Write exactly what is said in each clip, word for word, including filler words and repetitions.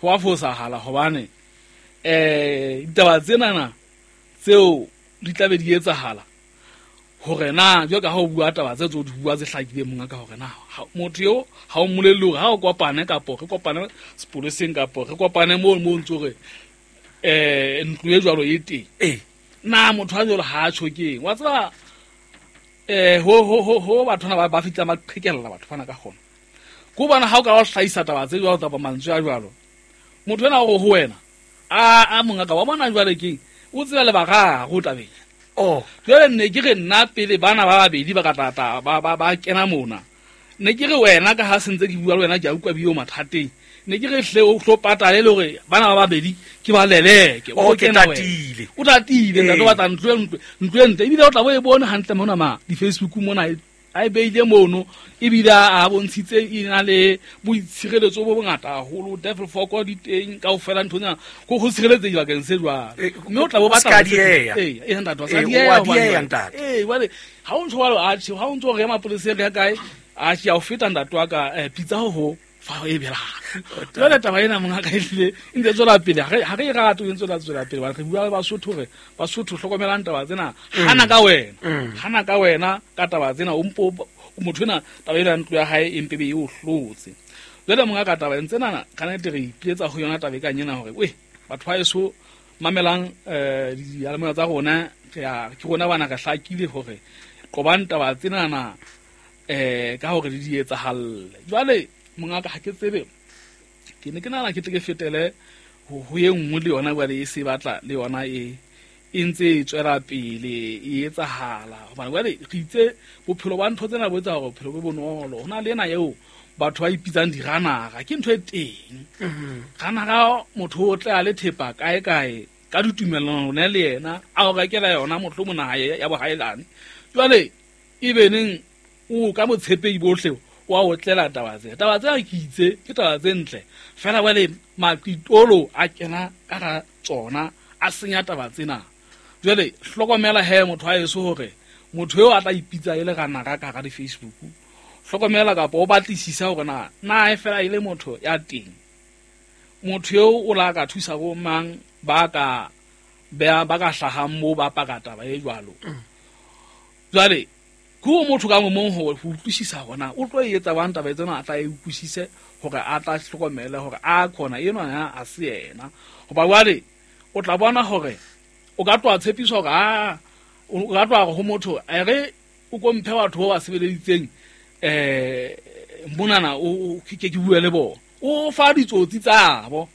Ho a fosahala hobane eh ditaba tsenana tseo di tla be di etsahala hore na jwalo ka ha o bua taba tse tso di bua tse hlakileng monga ka hore na motho eo ha o mmolelle hore ha o kopane kapo re kopane sepoleseng kapo re kopane moo mo ntso re eh ntlo e jwalo e teng eh na motho a jwalo ha a tjho keng wa tseba eh ho ho ho ho batho ba ba fitla ba qhekella batho bana ka gona go bona ha o ka o hlahisa taba tse jwalo taba mantswe a jwalo motho ena o ho wena a a monga ka wa bona jwale keng o tseba le bararo tabeng oh jwale nne ke re nna pele bana ba babedi ba ka tata ba ba ba kena mona ne ke re wena ka ha sentse ke bua le wena ke a utlwa bio mathateng ne ke re hle o hlo patale le hore bana ba babedi ke ba leleke o ke tatile o tatile ntate wa tla ntlo ntlo ntlo ntle ebile o tla bo e bone hantle mona ma di Facebook mona a e beile mono ebile a bontshitse e na le boitshireletso bo bongata haholo devil foko di teng kaofela nthonyana go go tshireletsa dibakeng se jwalo mme o tla bo batla ee ee ntate wa sa diea ee jwale ha o ntso jwalo atjhe ha o ntso re ya mapoleseng re ya kae atjhe ya o feta ntate wa ka pitsa ho ho fa e bela jwale taba ena monga ka ehlile e ntse tswela pele ha re e rate e ntse tswela pele re bua le Basotho re Basotho hlokomelang taba tsena hana ka wena hana ka wena ka taba tsena o mpo motho ena taba ena ntlo ya hae e mpe be e o hlotse jwale monga ka taba tsena ka nnete re ipiletsa ho yona taba e kang ena hore we batho ba eso mamelang eh diyalemoya tsa rona re a ke rona bana re hlakile hore qobang taba tsena eh ka hore di di etsahalle jwale monga ka ha ke tsebe ke ne ke nahana ke tle ke fetele ho ho e nngwe le yona jwale e se batla le yona e e ntse e tswela pele e etsahala hobane jwale re itse bophelo ba ntho tsena bo etsa hore bophelo bo bonolo ho na le ena eo batho ba ipitsang diranara ke ntho e teng ranara motho o tle a le thepa kae kae ka ditumellano ne le yena a o rekela yona motho mona ya bohaelane jwale e beneng o ka motshepei bohle wa o tlela taba tse taba tse ke itse ke taba tse ntle fela jwale maqitolo a kena ka ga tsona a senya taba tsena jwale hlokomela he motho a eso hore motho eo a tla ipitsa e le ranara ka ga di Facebook hlokomela kapa o batlisisa hore na na e fela ile motho ya teng motho eo o la ka thusa bo mang ba ka ba ba ka hlahang mo ba paka taba e jwalo jwale go motho ka mong ho utlwisisa hona o tlo etsa bang taba tsena a tla e utlwisise hore a tla hlokomela hore a khona eno ya a se yena hoba jwale o tla bona hore o ka tloa tshepiso hore a o ka tloa ho motho a re o komphe batho ba ba sebeleditseng eh monana o ke ke bue le bona o fa ditsotsi tsabo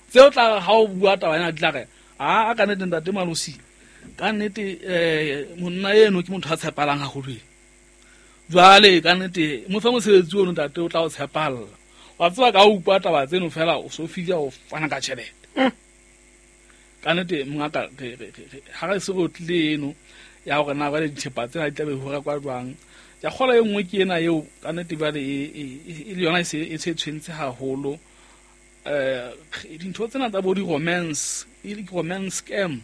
tseo tla ha o bua taba ena di tla re a ka nnete ntate Malosi ka nnete eh monna eno ke motho a tshepalang haholo jwale ka nnete mo fa mosebetsi ono ntate o tla o tshepalla wa tseba ka o utlwa taba tseno fela o so fihla o fana ka tjhelete ka nnete mongaka ha re se re tlile eno ya hore na jwale dithepa tsena di tla be ho rekwa jwang ya kgola e nngwe ke ena eo ka nnete jwale e le yona e se e tshwentse haholo eh dintho tsena tsa bo di-romance e le romance scam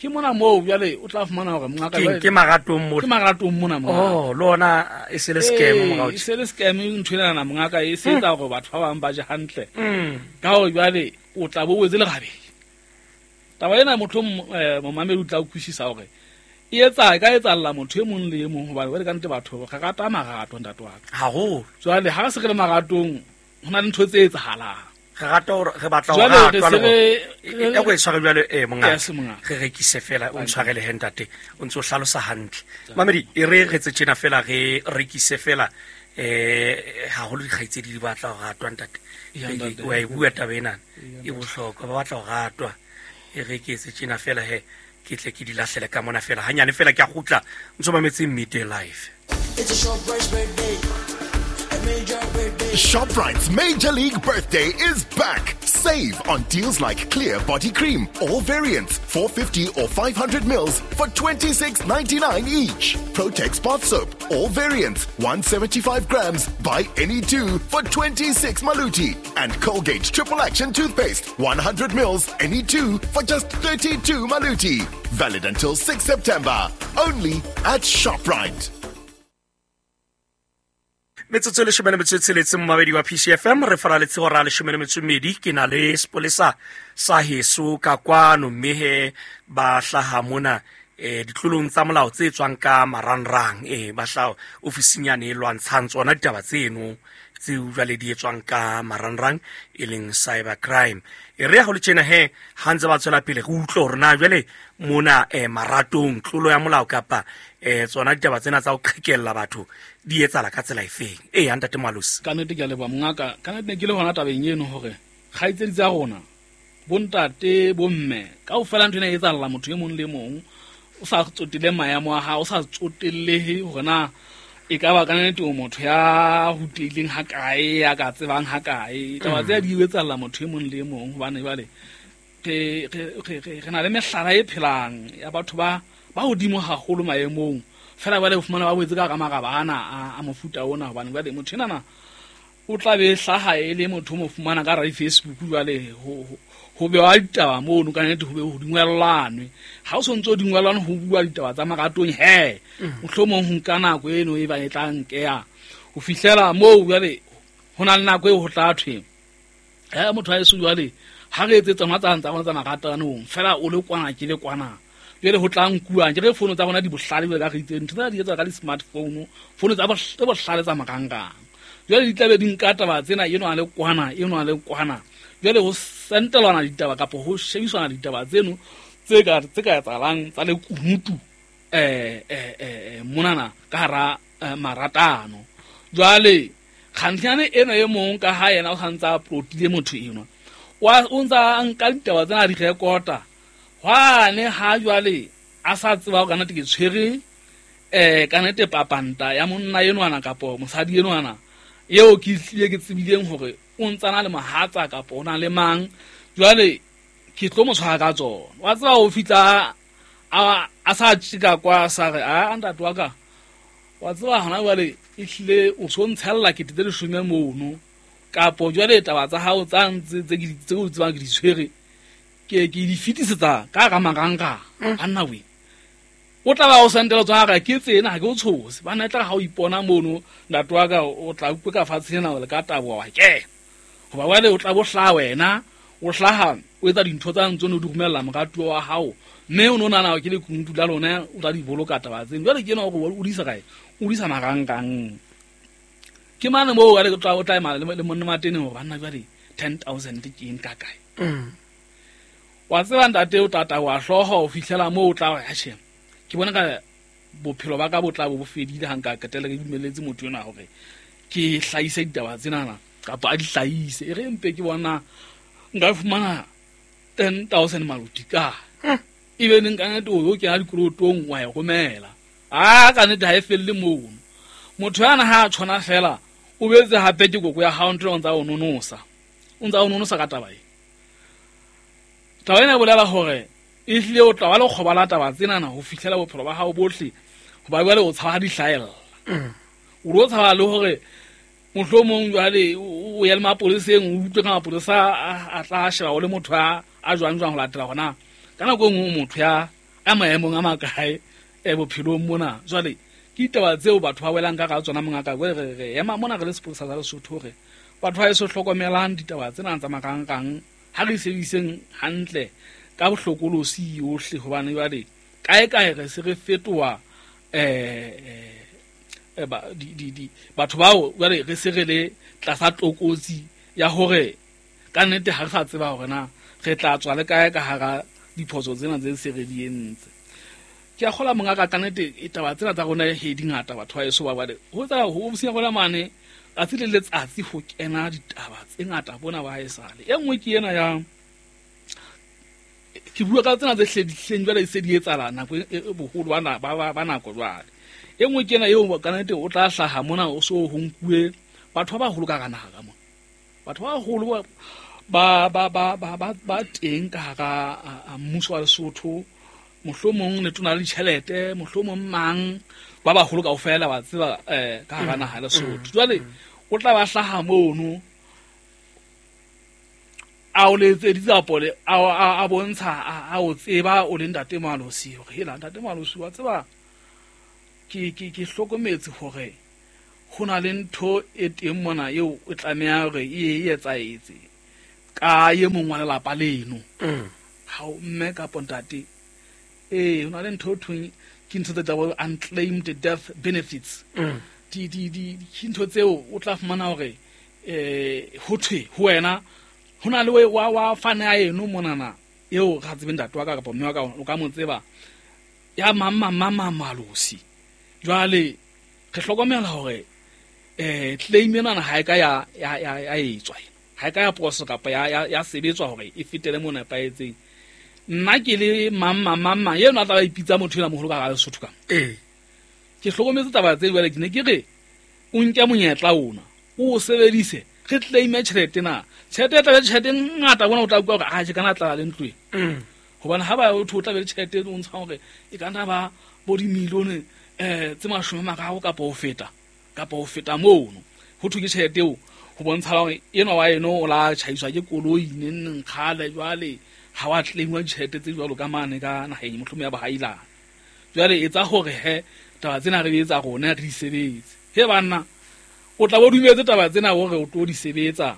ke mona moo jwale o tla fumana hore mongaka ke ke maratong mo ke maratong mona mo oh lona e se le scam morao e se le scam ntho ena na mongaka e se etsa hore batho ba bang ba je hantle ka hore jwale o tla bo wetse lerabeng taba ena motho momamedi o tla utlwisisa hore e etsa ka etsalla motho e mong le e mong hobane jwale ka nnete batho re rata marato ntate wa ka haholo jwale ha re se re le maratong ho na le ntho tse etsahalang re rata hore re batla ho ratwa le e go e tshware jwale eh mongaka re rekise fela o ntshwarele he ntate o ntse o hlalosa hantle mamedi e re re tse tjena fela re rekise fela eh haholo dikgaitsedi di batla ho ratwa ntate wa e bua taba ena e bohlokwa ba batla ho ratwa e rekise tjena fela he ke tle ke di lahlele ka mona fela hanyane fela ke a kgutla ntso mametse Midday Live. It's a short birthday. ShopRite's Major League Birthday is back. Save on deals like Clear Body Cream, all variants, four fifty or five hundred mils for twenty-six ninety-nine each. Protex Bath Soap, all variants, one seventy-five grams, buy any two for twenty-six maluti. And Colgate Triple Action Toothpaste, one hundred mils, any two for just thirty-two maluti. Valid until sixth September. Only at ShopRite. Metsotso e leshome le metso e tsheletseng momamedi wa P C F M re faraletse hora ya leshome le metso e mmedi. Ke na le sepolesa sa heso ka kwano, mme he ba hlaha mona eh ditlolong tsa molao tse tswang ka marangrang, eh ba hlaha ofising yane e lwantshang tsona ditaba tseno tseo jwale di etswang ka marangrang, e leng cyber crime. E re ya ho le tjena he ha ntse ba tswela pele re utlwe hore na jwale mona eh maratong tlolo ya molao kapa eh tsona ditaba tsena tsa ho qhekella batho di etsahala ka tsela efeng. Eh ya ntate Moalosi, ka nnete ke a leboha mongaka. Ka nnete ne ke le hona tabeng eno hore kgaitsedi tsa rona, bontate, bomme, kaofela ntho ena e etsahalla motho e mong le mong, o sa tsotelle maemo a hao, o sa tsotellehe hore na e ka ba ka nnete o motho ya rutehileng ha kae, ya ka tsebang ha kae. Taba tsena di etsahalla motho e mong le mong, hobane jwale re re re re na le mehlala e phelang ya batho ba ba hodimo haholo maemong, fela jwale o fumana ba boetse ka hara maraba ana a a mofuta ona, hobane jwale motho enana o tla be hlaha e le motho o mo fumana ka hara di-Facebook. Jwale ho ho bewa ditaba mono, ka nnete ho be ho dingwellanwe. Ha o sontso o dingwellanwe ho bua ditaba tsa maratong, he mohlomong ho nka nako eno e ba e tla nkeha ho fihlela moo. Jwale ho na le nako eo ho tla thwe he motho ha eso jwale ha re etse tsona tsa tsa rona tsa maratanong, fela o le kwana ke le kwana. Jwale ho tla nkuwang ke re fono tsa rona di bohlale, jwale ka re itse ntho tsena di etswa ka di-smartphone, fono tsa bohlale tsa marangrang. Jwale di tlabe di nka taba tsena, eno a le kwana, eno a le kwana. Jwale ho sentelwana ditaba kapa ho shebiswana ditaba tseno tse ka tse ka etsahalang tsa lekunutu eh eh eh monana ka hara maratano. Jwale kgantlhane eno e mong ka ha yena o santsa a plotile motho enwa, wa o ntsa nka ditaba tsena di rekota hwane ha jwale a sa tseba hore kannete ke tshwere eh kannete papanta ya monna enwana kapo mosadi enwana eo ke hlile ke tsebileng hore o ntsana le mohatsa kapo o na le mang, jwale ke tlo mo tshwara ka tsona. Wa tseba ho fihla a a sa tjika kwa sa re a ntate wa ka, wa tseba hona jwale e hlile o so ntshella kete tse leshome mono, kapo jwale taba tsa hao tsa ntse tse ke tse o tsebang ke di tshwere ke ke di fetisetsa ka hara marangrang. Anna we o tla ba o sentela tsona ka ke tsena ha ke o tshose bana, tla ha o ipona mono ntate wa ka o tla utlwe ka fatshe ena le ka taboha wa ke hoba jwale o tla bo hlaha wena, o hlaha o etsa dintho tsa ntse o di romella moratuwa wa hao, mme o no nahana ke lekunutu la lona o tla di boloka taba tseno. Jwale ke ena hore o di isa kae, o di isa marangrang. Ke mane moo jwale o tla o tla ema le monna matene hore banna jwale ten thousand ke eng ka kae. Wa tseba ntate o tata wa hlooho ho fihlela moo o tla re atjhe ke bona ka bophelo ba ka bo tla bo bo fedile ha nka qetella ke dumelletse motho enwa hore ke hlahise ditaba tsenana kapa a di hlahise. E re mpe ke bona nka fumana ten thousand maluti ka ebe neng ka nnete o kena dikolotong wa e romela. A ka nnete ha e felle mono. Motho yana ha a tshwana fela o betse hape ke koko ya hao ntho o ntsa o nonosa, o ntsa o nonosa ka taba e. Taba ena e bolela hore e hlile o tla ba le kgoba la taba tsenana ho fihlela bophelo ba hao bohle, hoba jwale o tshaba ha di hlahella. O ro tshaba le hore mohlomong jwale o ya le mapoleseng, o utlwe ka mapolesa a tla sheba o le motho a a jwang jwang ho latela hona ka nako e nngwe motho ya a maemong a makae e bophelong mona. Jwale ke ditaba tseo batho ba welang ka hara tsona mongaka. Jwale re re ema mona re le sepolesa sa Lesotho hore batho ba eso hlokomelang ditaba tsena tsa marangrang ha re sebediseng hantle ka bohlokolosi yohle, hobane jwale kae kae re se re fetoha eh eh ba di di di batho bao jwale re se re le tlasa tlokotsi ya hore ka nnete ha re sa tseba hore na re tla tswa le kae ka hara diphoso tsena tse se re di entse. Ke a kgola mongaka ka nnete e taba tsena tsa rona he di ngata batho ba eso ba bale ho tsa ho ofising ya rona mane tsatsi le letsatsi ho kena ditaba tse ngata bona ba haesale. E nngwe ke ena ya ke bua ka tsena tse hledihleng jwale e se di etsahala nako e boholo ba ba ba nako jwale. E nngwe ke ena eo ka nnete o tla hlaha mona o so ho nkuwe batho ba baholo ka hara naha ka mona, batho ba baholo ba ba ba ba ba ba teng ka hara mmuso wa Lesotho, mohlomong letona le ditjhelete, mohlomong mang ba baholo kaofela ba tseba eh ka hara naha ya Lesotho. Jwale o tla ba hlaha mono a o letseditse apole a a bontsha a o tseba o le ntate Moalosi hore hela ntate Moalosi wa tseba ke ke ke hlokometse hore ho na le ntho e teng mona eo o tlameha hore e e etsaetse ka ye mong wa lelapa leno. Ha o mme kapa ntate, eh ho na le ntho thweng ke ntho tse tla unclaimed death benefits. Di di di ke ntho tseo o tla fumana hore eh ho thwe ho wena ho na le wa wa fana ya eno monana eo ga tsebe ntate wa ka kapa mme wa ka o ka mo tseba ya mama mama malosi. Jwale re hlokomela hore eh claim ena ha e ka ya ya ya etswa ha e ka ya process kapa ya ya sebetswa hore e fetele mo nepahetseng. Nna ke le mama mama yena a tla ba ipitsa motho ena moholo ka ga Lesotho ka eh ke hlokometse taba tse jwale ke ne ke re o nke monyetla ona o sebedise re claim tjhelete na tjhelete e tla be tjhelete ngata bona o tla utlwa hore a je kana tla le ntlo e hobane ha ba o tlo tla be le tjhelete o ntsha hore e ka nna ba bo di milione eh tse mashome mararo kapa ho feta kapa ho feta mono ho thwe ke tjhelete eo ho bontsha hore enwa wa eno o la tjhaiswa ke koloi neng kgale jwale ha wa claimwa tjhelete tse jwalo ka mane ka naheng mohlomong ya bahailana. Jwale etsa hore he taba tsena re etsa rona re di sebetse he banna o tla bo dumetse taba tsena hore o tlo di sebetsa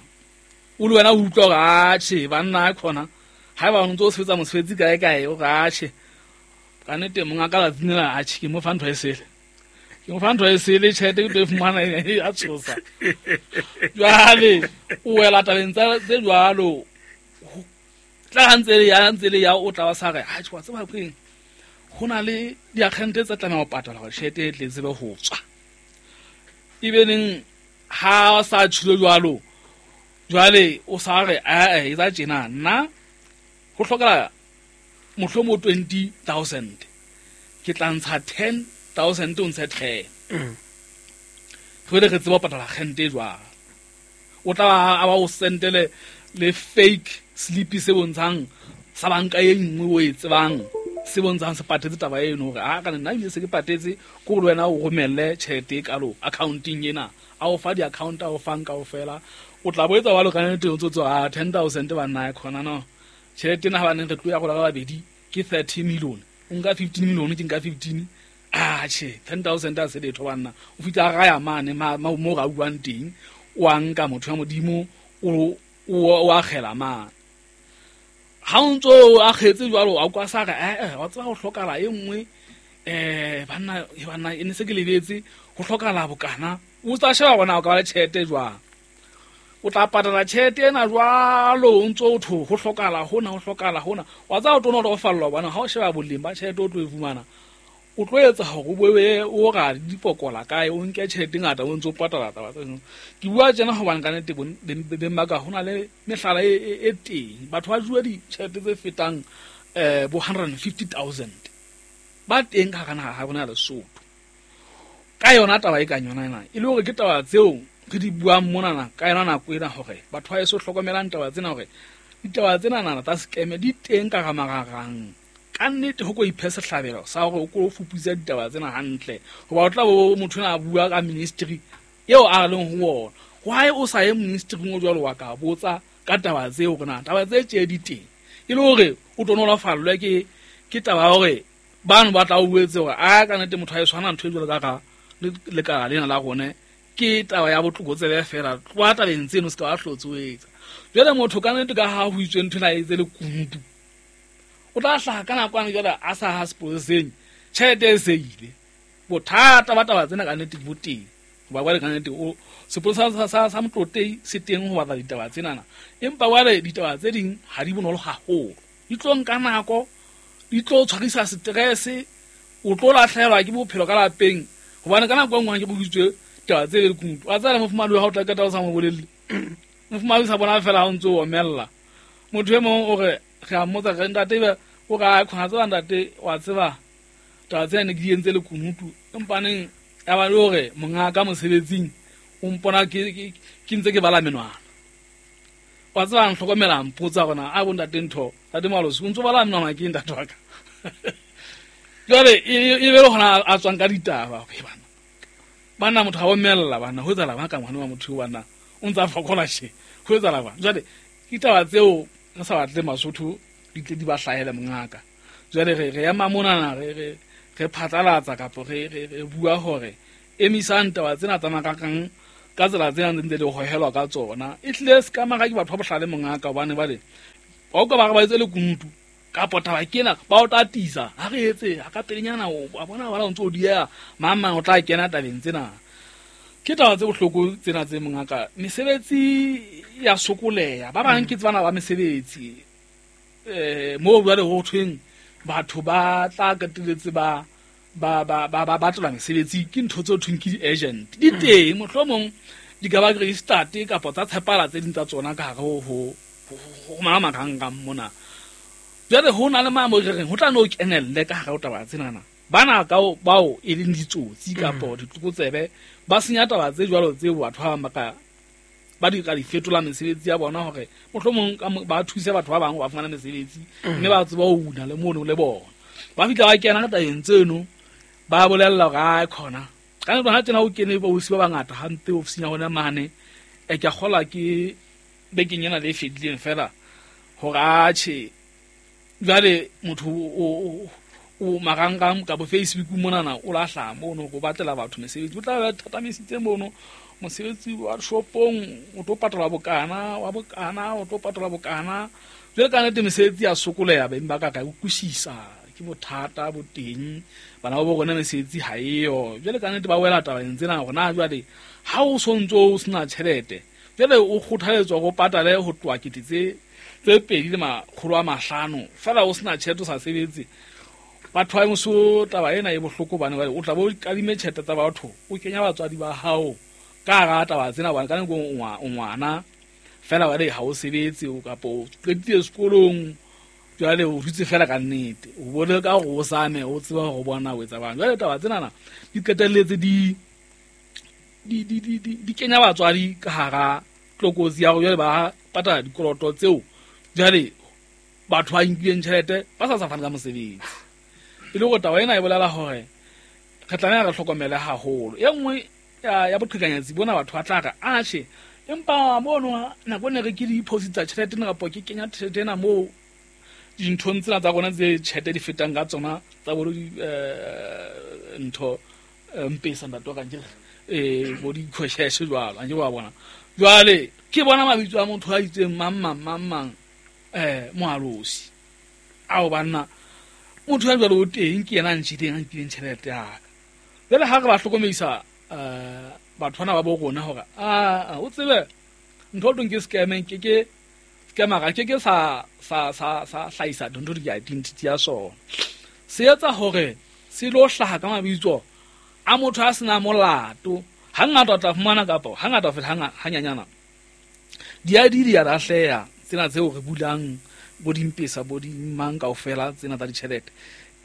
o le wena o utlwa hore atjhe banna khona ha ba o ntso sebetsa mosebetsi kae kae o re atjhe ka nnete monga ka latsinela atjhe ke mo fa ntho e sele ke mo fa ntho e sele tjhelete ke tlo e fumana a tshosa. Jwale o wela tabeng tsa tse jwalo tla ha ntse le ya ntse le ya o tla ba sa re atjhe wa tseba keng ho na le diakgente tse tlameha ho patala hore tjhelete e tle tsebe ho tswa. Ebe neng ha sa tshilo jwalo jwale o sa re a e tsa tjena nna ho hlokala mohlomong twenty thousand ke tla ntsha ten thousand o ntshe ten re re tseba patala kgente jwang o tla ba ba o sentele le fake slip se bontshang sa banka e nngwe o e tsebang se bontshang se patetse taba eno hore a kana nna ebile se ke patetse ko le wena o romelle tjhelete e kalo accounting ena a o fa di-account a o fang kaofela o tla bo etsa wa lo ka nnete o tsotso a ten thousand ba nna e khona no tjhelete ena ha ba neng re tlo ya gola ka babedi ke thirty million o nka fifteen million ke nka fifteen ah che ten thousand a se letho banna o fitla ga ya mane mo ga buang teng o a nka motho ya modimo o o akgela mane ha o ntso a kgetse jwalo a kwa sa re eh wa tseba ho hlokala e nngwe eh banna banna e ne se ke lebetse ho hlokala bokana o tla sheba bona o ka ba le tjhelete jwang o tla patala tjhelete ena jwalo o ntso o tho ho hlokala hona ho hlokala hona wa tseba o tlo no fallwa bona ha o sheba boleng ba tjhelete o tlo e fumana o tlo etsa hore o boe o ra dipokola kae o nke tjhelete ngata o ntso patala taba tseno ke bua tjena hobane ka nnete beng ba ka hona le mehlala e teng batho ba jua ditjhelete tse fetang eh bo one hundred fifty thousand ba teng ka hara naha ha rona ya Lesotho ka yona taba e ka yona ena e le hore ke taba tseo re di buang monana ka yona nako ena hore batho ba eso hlokomelang taba tsena hore ditaba tsena nana tsa scam di teng ka ramararang ka nnete ho ko iphe sehlabelo sa hore o ko fuputsa ditaba tsena hantle hoba o tla bo motho ena a bua ka ministry eo a leng ho ona why o sa ye ministry o jwalo wa ka botsa ka taba tseo hore na taba tse tje di teng e le hore o tlo nolofallwe ke ke taba ya hore bano ba tla o buetse hore a ka nnete motho a e tshwana ntho e jwalo ka ka lekala lena la rone ke taba ya botlokotsebe fela tloha tabeng tseno se ka wa hlotse o etsa jwale motho ka nnete ka ha ho itswe ntho ena e etse le kunutu o tla hlaha ka nakwana jwale a sa ha sepoleseng tjhelete e se ile bothata ba taba tsena ka nnete bo teng hoba jwale ka nnete o sepolesa sa sa sa Motlotei se teng ho batla ditaba tsenana empa jwale ditaba tse ding ha di bonolo haholo di tlo nka nako di tlo tshwarisa stress o tlo lahlehelwa ke bophelo ka lapeng hobane ka nako e nngwe ke bokitswe taba tse le kunutu wa tsela mofumadi wa hao tla qeta o sa mo bolelle mofumadi sa bona fela ha o ntso o omella motho e mong o re re a mmotsa re ntate ebe o re a khona tseba ntate wa tseba taba tsena ne ke di entse le kunutu empaneng ya ba le hore monga ka mosebetsing o mpona ke ke ntse ke bala menwana wa tseba ntlhokomela mpotsa gona a bo ntate ntho ntate Malosi o ntso bala menwana ke ntate wa ka jwale e be le hona a tswang ka ditaba okay bana bana motho ha o mella bana ho etsala ba ka ngwana wa motho bana o ntsa fokola she ho etsala ba jwale ditaba tseo re sa batle Masotho di tle di ba hlahele mongaka jwale re re ya mamonana re re re phatlalatsa kapa re re re bua hore Emisang taba tsena tsa marangrang ka tsela tsena ntse di hohelwa ka tsona. E hlile se ka mara ke batho ba bohlale mongaka hobane bale ba o ka ba re ba etse lekunutu kapo taba ke ena ba o tatisa ha re etse ha ka pelenyana o a bona bana o ntse o dieha mang mang o tla kena tabeng tsena. Ke taba tse bohloko tsena tse mongaka. Mesebetsi ya sokoleha ba bang ke tsebana ba mesebetsi eh mo jwale ho thweng batho ba tla qetelletse ba ba ba ba ba batla mesebetsi ke ntho tse thweng ke di-agent di teng mohlomong di ka ba registered kapa tsa tshepala tse ding tsa tsona ka hare ho ho ho marangrang mona. Jwale ho na le maemo re reng ho tla no kenelle ka hare ho taba tsenana bana ka bao e leng ditsotsi kapa ditlokotsebe ba senya taba tse jwalo tseo batho ba bang ba ka ba di ka di fetola mesebetsi ya bona hore mohlomong ba thuse batho ba bang ba fumana mesebetsi mme ba tseba ho una le mono le bona. Ba fihla ba kena ka tabeng tseno ba bolella hore a khona ka nako ha tsena o kene ba osi ba bangata hampe ofising ya hona mane e ke a kgola ke bekeng ena le e fedileng fela hore atjhe jwale motho o o marangrang ka bo Facebook monana o lahla mono go batlela batho mesebetsi o tla ba thatamisitse mono mosebetsi wa shopong o tlo patala bokana wa bokana o tlo patala bokana. Jwale ka nnete mesebetsi ya sokoleha beng ba ka ka utlwisisa ke bothata bo teng bana ba bo rona mesebetsi ha eyo. Jwale ka nnete ba wela tabeng tsena hore na jwale ha o sontso o sena tjhelete jwale o kgothaletswa go patale ho tloha kete tse tse pedi le makgolo a mahlano fela o sena tjhelete o sa sebetse. Batho ba moso taba ena e bohloko bane o tla bo kadime tjhelete tsa batho o kenya batswadi ba hao ka hara taba tsena bane ka nako o ngwana fela wa re ha o sebetse o kapa o qetile sekolong jwale o dutse fela ka nnete o bone ka hore o same o tseba hore bona o etsa bang. Jwale taba tsenana di qetelletse di di di di di kenya batswadi ka hara tlokotsi ya hore jwale ba patala dikoloto tseo jwale batho ba nkileng tjhelete ba sa sa fana ka mosebetsi. E le hore taba ena e bolela hore re tlameha re hlokomele haholo. E nngwe ya boqhekanyetsi bona batho ba tla re atjhe empa mono nako ne re ke di-deposit-a tjhelete ena kapa ke kenya tjhelete ena moo dinthong tsena tsa rona tse tjhelete di fetang ka tsona tsa bo ntho mpesa ntate wa ka nkere eh bo di-cash jwalo a nke wa bona. Jwale ke bona mabitso a motho a itseng mang mang mang mang eh moalosi ao banna motho ya jwalo o teng ke yena a ntjhileng a nkileng tjhelete ya ka. Jwale ha re ba hlokomedisa eh batho bana ba bo rona hore a o tsebe ntho o teng ke scam ke ke scammer ke ke sa sa sa sa hlahisa ntho di identity ya sona se etsa hore se lo hlaha ka mabitso a motho a sena molato. Hangata o tla fumana kapa hangata fela hanyanyana di I D di a lahleha tsena tseo re bulang bo dimpesa bo di mang kaofela tsena tsa ditjhelete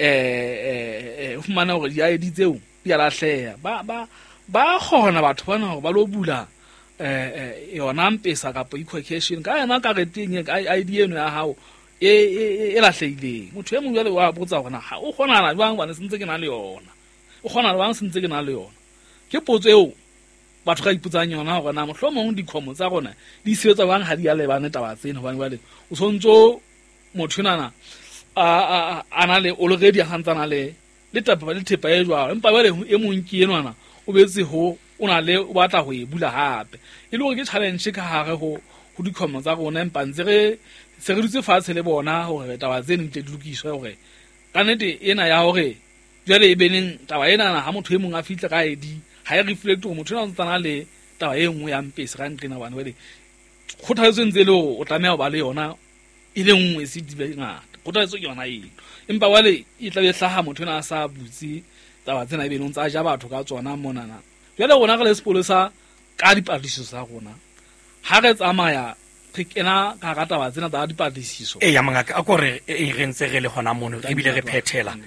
eh eh o fumana hore di I D tseo di a lahleha ba ba ba kgona batho bana hore ba lo bula eh yona mpesa kapa equation ka yona kareteng I D eno ya hao e e lahlehileng. Motho e mong jwale wa botsa hore na o kgona jwang bana sentse ke na le yona o kgona jwang sentse ke na le yona. Ke potso eo batho ka ipotsang yona hore na mohlomong dikhomo tsa rona di sebetsa jwang ha di a lebane taba tsena hobane jwale o sontso motho enana a a na le already a santsana le le taba le thepa e jwalo empa jwale e mong ke enwana o betse ho o na le o batla ho e bula hape e le hore ke challenge ka hare ho ho dikhomo tsa rona empa ntse re se re dutse fatshe le bona hore taba tseno di tle di lokiswe hore ka nnete ena ya hore jwale e beneng taba ena ha motho e mong a fihle ka I D ha e reflect hore motho ena o ntsana le taba e nngwe ya mpesa ka ntlena bana jwale kgothaletso ntse le hore o tlameha ho ba le yona e le nngwe se di be ngata kgothaletso ke yona eno empa jwale e tla be hlaha motho ena a sa butse taba tsena e benong tsa ja batho ka tsona monana. Jwale rona re le sepolesa ka dipatlisiso tsa rona ha re tsamaya re kena ka hara taba tsena tsa dipatlisiso. E ya mongaka a kore e re ntse re le hona mono ebile re phethela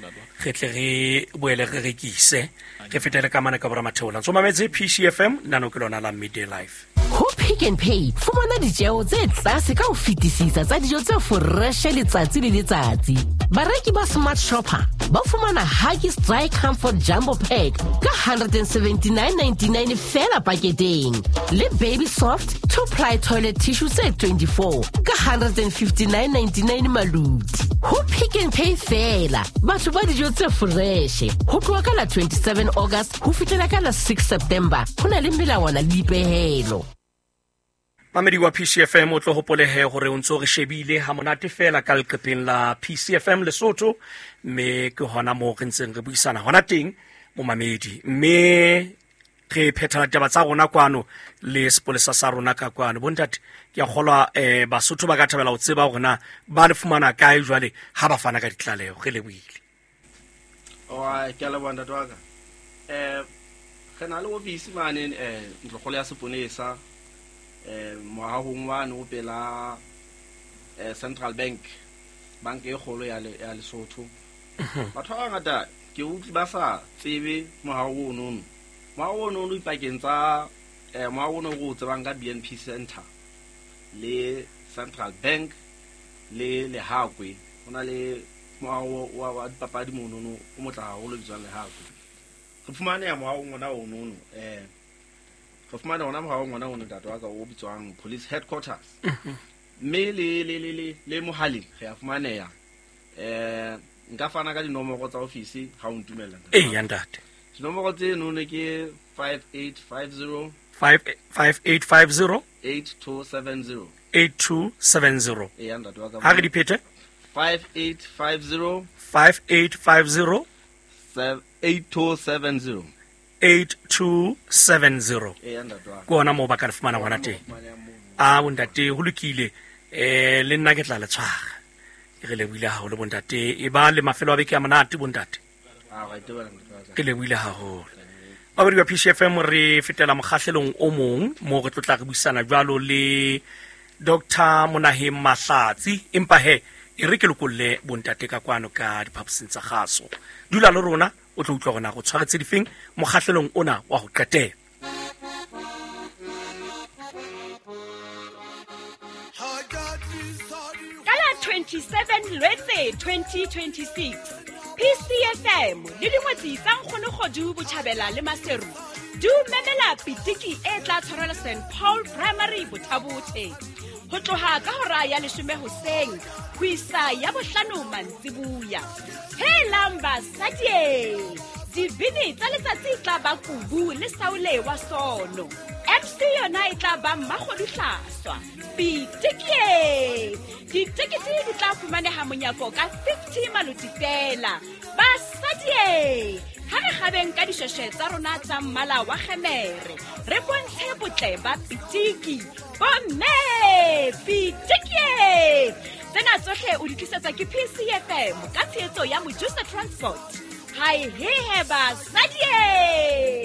re tle re boele re rekise re fetele ka mane ka bora matheola. Ntso mametse P C F M nano ke lona la Midday Life. Ho Pick n Pay fumana ditjeo tse tlase ka ho fetisisa tsa dijo tse fresh letsatsi le letsatsi. Bareki ba Smart Shopper ba fumana Huggies Dry Comfort Jumbo Pack ka one seventy-nine ninety-nine fela paketeng le Baby Soft two ply toilet tissue tse twenty-four ka one fifty-nine ninety-nine maluti. Ho Pick n Pay fela batho ba dijo tse fresh ho tloha ka la twenty-seven August ho fihlela ka la six September. Ho na le melawana le dipehelo. Mamedi wa P C F M o tlo hopolehe hore o ntso re shebile ha monate fela ka leqepheng la P C F M Lesotho, mme ke hona moo re ntseng re buisana hona teng momamedi, mme re phetha ditaba tsa rona kwano le sepolesa sa rona ka kwano. Bontate, ke a kgolwa eh Basotho ba ka thabela ho tseba hore na ba le fumana kae jwale ha ba fana ka ditlaleho. Re lebohile. Oi, ke a leboha ntate wa ka. Eh re na le ofisi mane eh ntlokgolo ya seponesa eh moahong wane o pela eh Central Bank, banka e kgolo ya ya Lesotho. Batho ba bangata ke utlwi ba sa tsebe moaho ono. Moaho ono o ipakeng tsa eh moaho ono o tsebang ka B N P Center le Central Bank le Lehakwe. Ho na le moaho wa wa dipapadi mono o motla haholo bitswang Lehakwe. Re fumaneha moahong ona ono eh re fumana ona moahong ona ono ntate wa ka o bitswang Police Headquarters. Mme le le le le le mohaleng re a fumaneha. Eh nka fana ka dinomoro tsa ofisi ha o ntumella ntate. Eh ntate. Dinomoro tse none ke five eight five zero five eight five zero eight two seven zero eight two seven zero. Eh ntate wa ka. Ha re di phete? five eight five zero five eight five zero eight two seven zero eight two seven zero. Eh ntate wa ka. Ke ona moo ba ka le fumana hona teng. A bontate ho lokile, eh le nna ke tla le tshwara. Re lebohile haholo bontate, e ba le mafelo a beke a monate bontate. A ra itebela ntate. Ke lebohile haholo. Babadi ba P C F M re fetela mokgahlelong o mong mo re tlotla re buisana jwalo le Doctor Monaheng Mahlatsi, empa he e re ke lokolle bontate ka kwano ka diphaposing tsa kgaso. Dula le rona o tlo utlwa hore na go tshwaretse difeng mokgahlelong ona wa ho qetela. twenty-seven Lwetse twenty twenty-six P C F M le dingwetsi tsa Nkgonokgodu Botjhabela le Maseru di memela pitiki e tla tshwarelwa Saint Paul Primary Bothabothe ho tloha ka hora ya leshome hoseng ho isa ya bohlano mantsibuya. Helang basadi, dibini tsa letsatsi tla ba kubu le saule wa sono. M C yona e tla ba Mmakgodu Hlaswa. Pitiki ditekete di tla fumaneha monyako ka fifty maloti fela. Basadi, ha re kgabeng ka dishweshwe tsa rona tsa mmala wa kgemere, re bontshe botle ba pitiki. Bomme, pitiki! Tsena tsohle o di tlisetsa ke P C F M ka tshehetso ya Mojusa Transport. Hai he he basadi!